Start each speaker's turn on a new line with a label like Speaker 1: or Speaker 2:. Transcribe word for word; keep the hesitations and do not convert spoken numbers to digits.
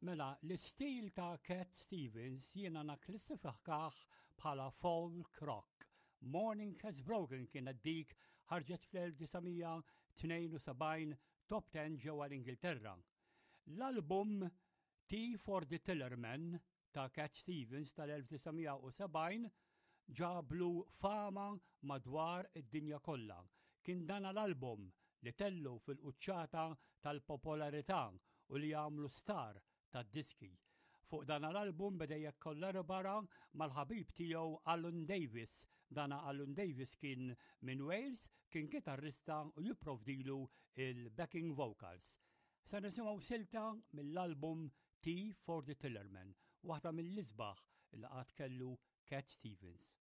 Speaker 1: Mela, l-istil ta' Cat Stevens jiena nakklassifikah bħala folk rock. Morning Has Broken kienet dik, ħarġet fl-elf disa' mija tnejn u sebgħin, top ten ġewwa l-Ingilterra. L-album Tea for the Tillerman ta' Cat Stevens tal-elf disa' mija u sebgħin ġablu fama madwar id-dinja kollha. Kien dan l-album li tellu fil-quċċata tal-popolarità u li għamlu star tad-diski. Fuq dan l-album beda jikkollabora mal-ħabib tiegħu Alan Davis. Dana Alan Davis kien minn Wales, kien kitarrista u jipprovdilu il-backing vocals. Sa nisimgħu silta mill-album Tea for the Tillerman, waħda mill-isbaħ li qatt kellu Cat Stevens.